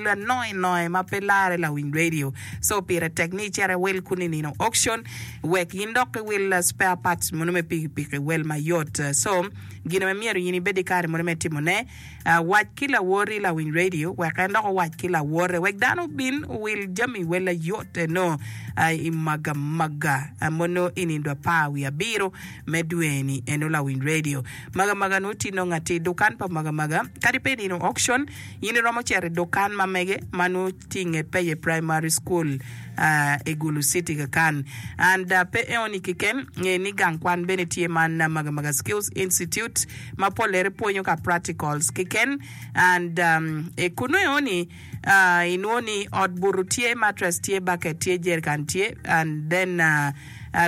anoe noe ma pe lare lawiny radio. So pire tek ni icit iwil kunu i nino auction wek in dok iwil spare parts mono me pikipiki wel mayot. So gin ma myero in ibed ki kare mono me timone, wac ki lawoti lawiny radio wek en dok owac ki lawote wek dano obin owil jami wel ayot eno i Magamaga mono i nindo apar wiye abiro me dwe-ni eno lawiny radio. Magamaga nongo tye nongo atir dukan pa Magamaga kadi pe i nino auction in iromo cito i dukan ma mege ma nongo tye i nget Peye Primary School i Gulu City kakan. And pe eoni keken, nge ni gang kwan bene tye man Magamaga Skills Institute ma pollere pwonyo ka practicals keken. And i kunu eoni inwongo ni ot buto tye, mattress tye, bucket tye, jerrican tye and then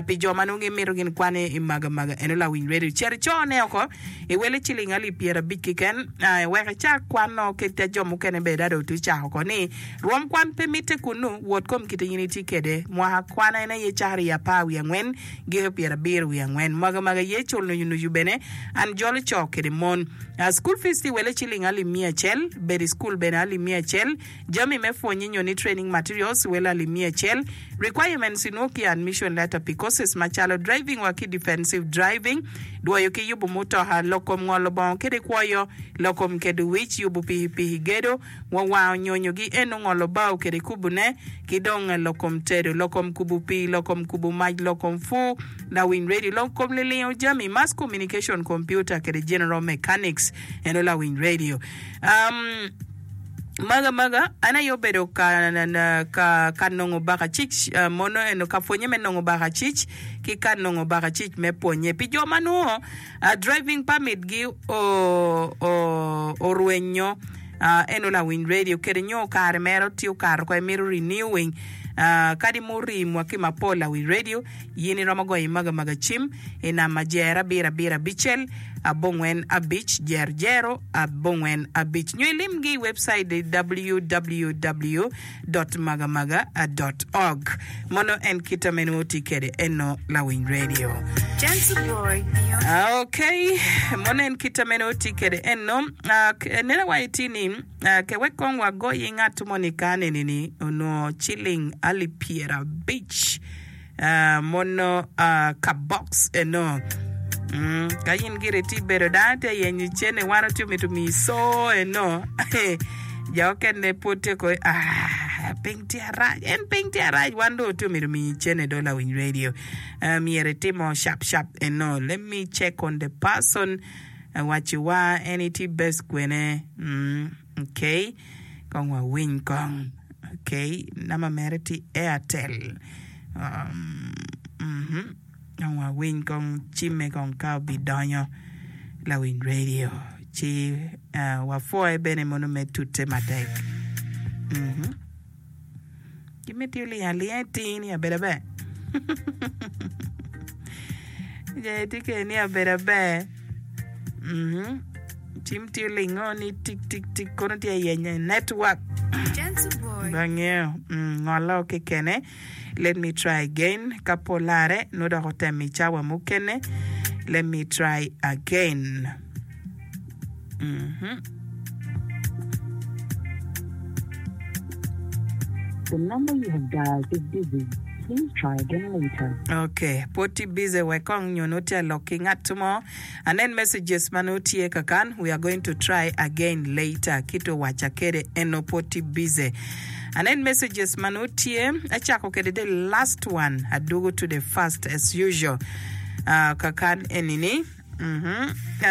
Pi jo ma nongo gimito gin kwan i Magamaga eno lawiny redio cit icone oko i wele ciling alip pyerabic keken wek icak kwano kit jo mukene bene dong dong icako oko ni rwom kwan pe mitte kunnu wot kom kite in itye kede mwaka kwan en aye cakre i apar wiye angwen giko pyerabiro wiye angwen Magamaga ye cul nucu nucu bene an jolo co kede mon School fees tye i wele ciling alip miya acel bedo i school bene alip miya acel Jami me pwonye nyo ni training materials wel alip miya acel. Requirements inwo ki admission letter pi courses macalo driving wa ki defensive driving, dwoyo ki yubu mutoka, lok kom ngolo bongo kede kwoyo, lok kom kedo wic, yubu pikipiki, gedo, wa wango nyonyo gi eno ngolo bao kede kubu ne, ki dong lok kom tedo, lok kom kubu pii, lok kom kubu mac, lok kom pur, lawiny radio, lok kom lilingo jami, mass communication, computer kede general mechanics eno lawiny radio. Um. Maga maga, an aye obedo ka ka nongo bakacic mono eno ka pwonye me nongo bakacic ki ka nongo bakacic me pwonye. Pi jo ma nongo driving permit gi orwenyo eno lawiny radio kede nyo kare mere tye okato oko imito renewing kadi murii mwaki mapol lawiny radio Yin iromo goyo i maga maga cim i namba jer abiro abiro abicel abongwen abic jer jero abongwen abic nyo ilimgi i webcait i www dot magamaga dot org. Mono en kita me nongo tye kede eno lawiny radio. Ok, mono en kita me nongo tye kede eno. Nena wa iti ni ke wek kong wagoyi ngat moni ka neni ni onongo ciling alip pyerabic. Mono ka box eno. Ka in gire tye bedo dano tye yenyo cene wan otye mito miyi co eno. Jo okene pwod tye ko ah piny tye arac en piny tye arac wan dong otye mito miyi cene do lawiny radio. Myero itimo shap shap eno. Let me check on the person waci wa en itye best kwene. Okay. Kong wawiny kong. Okay, namba mere tye Airtel. Um, mhm. Kong wawiny kong cimme kong ka obidonyo lawiny radio. Ci uh, wapwoye bene mono me tute matek. Mhm. Gimiti oling alinga iting ni abedo aber. Je itye kede ni abedo aber. Mhm. Cim tye olingo ni tik tik tik kono tye yenyo network. Bangeyo mm, ngolo kekene. Let me try again. Ka po lare, nongo dok otemo i cawa mukene. Let me try again. Mhm. The number you have dialed is busy. Please try again later. Ok, pwod tye busy wek kong nyo nongo tye alok ki ngat mo. Anen messages ma nongo tye kakan, we are going to try again later. Kit owaca kede eno pwod tye busy. Anen messages ma nongo tye, acako kede the last one, adwogo to the first as usual. Uh, kakan enini.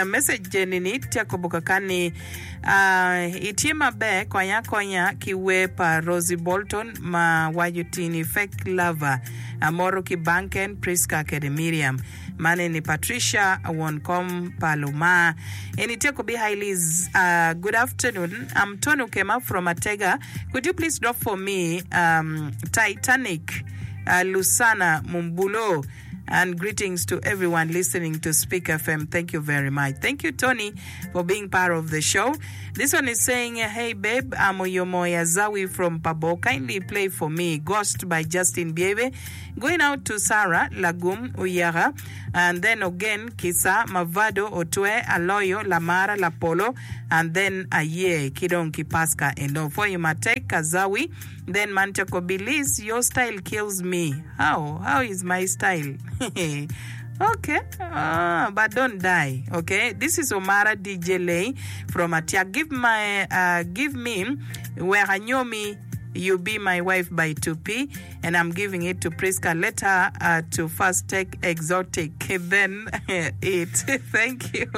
Message eni-ni tye akobo kakan ni, Itye maber, konya akonya ki wer pa Rosie Bolton ma waco ti ni Fake Lover. Amoto ki Banken, Prisca kede Miriam. Man eni Patricia, won kom pa Lumar. Eni tye akobi Hi Liz, good afternoon. I'm Tony Okema from Atega. Could you please drop for me Titanic, Lusana Mumbulo. And greetings to everyone listening to Speak FM. Thank you very much. Thank you, Tony, for being part of the show. This one is saying, Hey, babe, I'm Oyomoya Zawi from Pabo. Kindly play for me Ghost by Justin Biebe. Going out to Sarah Lagum Uyaga. And then Ogen, Kisa, Mavado, Otwe, Aloyo, Lamara, Lapolo, and then Aye ki dong ki Paska eno. Pwonyo matek Azawi, then man coko Bilis, your style kills me. How? How is my style? Ok, ah, but don't die. Ok, this is Omara DJ Lay from Atiak. Give my, uh, give me wek anyomi You Be My Wife by 2P and I'm giving it to Prisca let her uh, to first take exotic then eat. Thank you.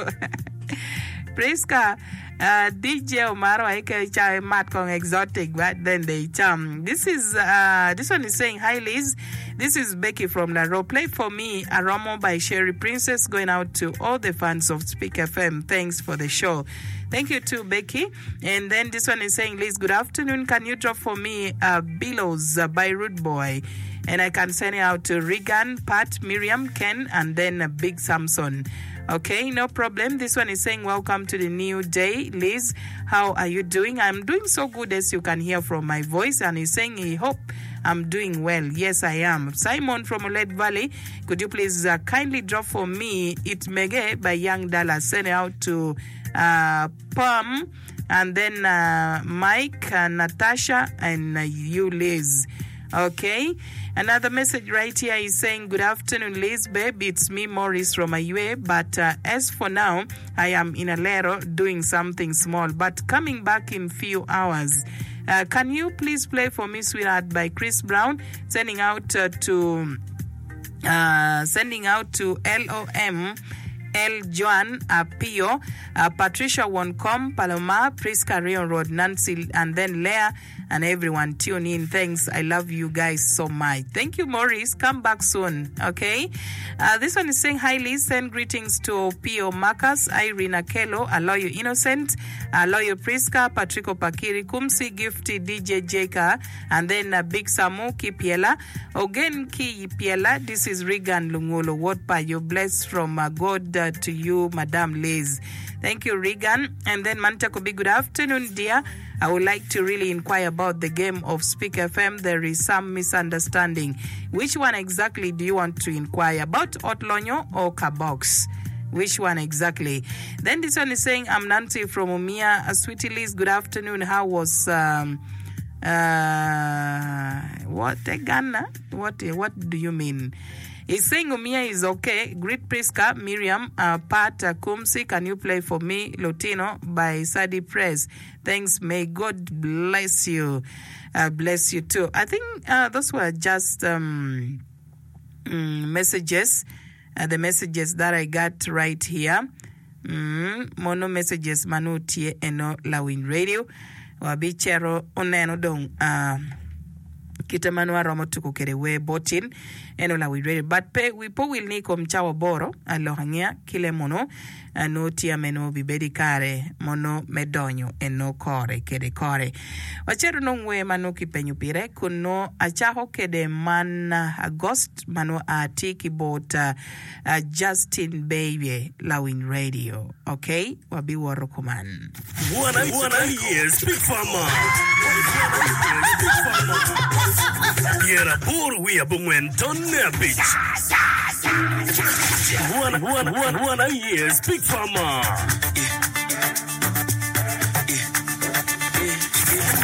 Prisca, uh, DJ Omar wa ike cha mat kong exotic but then they cham. This is uh, this one is saying hi Liz. This is Becky from Laro. Play for me Aromo by Sherry Princess going out to all the fans of Speak FM. Thanks for the show. Thank you too Becky. And then this one is saying, Liz, good afternoon. Can you drop for me uh, Billows uh, by Rude Boy? And I can send it out to Regan, Pat, Miriam, Ken, and then uh, Big Samson. Okay, no problem. This one is saying, Welcome to the new day. Liz, how are you doing? I'm doing so good as you can hear from my voice. And he's saying, he hope I'm doing well. Yes, I am. Simon from Olet Valley, could you please uh, kindly drop for me It Mege by Young Dallas? Send it out to uh, Pam, and then uh, Mike, uh, Natasha, and uh, you, Liz. Okay. Another message right here is saying, Good afternoon, Liz, babe. It's me, Maurice from Ayue. But uh, as for now, I am in Alero doing something small, but coming back in few hours. Uh, can you please play for me, Sweetheart, by Chris Brown? Sending out uh, to uh, sending out to LOM L. Joan Apio, uh, Patricia Wonkom, Paloma, Prisca Rion Road, Nancy, and then Leah, and everyone tune in. Thanks. I love you guys so much. Thank you, Maurice. Come back soon. Okay. Uh, this one is saying, Hi, Liz. Send greetings to Pio Marcus, Irene Akelo, Aloyo Innocent, Aloyo Prisca, Patrico Pakiri, Kumsi, Gifty, DJ Jeka, and then uh, Big Samu Kipiela. Ogen ki Piela, this is Regan Lungulo, wod pa you bless from uh, God uh, to you, Madam Liz. Thank you, Regan. And then Mantakobi, good afternoon, dear. I would like to really inquire about the game of Speak FM. There is some misunderstanding. Which one exactly do you want to inquire about, Otlonyo or Kabox? Which one exactly? Then this one is saying, I'm Nancy from Umia. Uh, Sweetie Liz, good afternoon. How was... Um, Uh, what a Ghana? What, what do you mean? He's saying Umia is okay. Greet Prisca, Miriam, uh, Pat, uh, Kumsi, can you play for me Lutino by Sadi Press? Thanks. May God bless you. Uh, bless you too. I think uh, those were just um, mm, messages. Uh, the messages that I got right here. Mm, mono messages ma nongo tye eno lawiny radio. Wabicito oneno dong uh, kite ma nongo aromo tuko kede wer botin eno lawiny radio. But pe wi pe owil ni i kom cawa aboro alok angeya ki le mono uh, nongo tye ame nongo obibedo i kare mono me donyo eno kore kede kore. Wacito nong wer ma nongo kipenyo pire kun nongo acako kede man Agost ma nongo a tye ki bot uh, Justin Beibe lawiny radio ok wabiwoto kuman. Wan aye Speak Farmer. 85 .5. Wan aye Speak Farmer.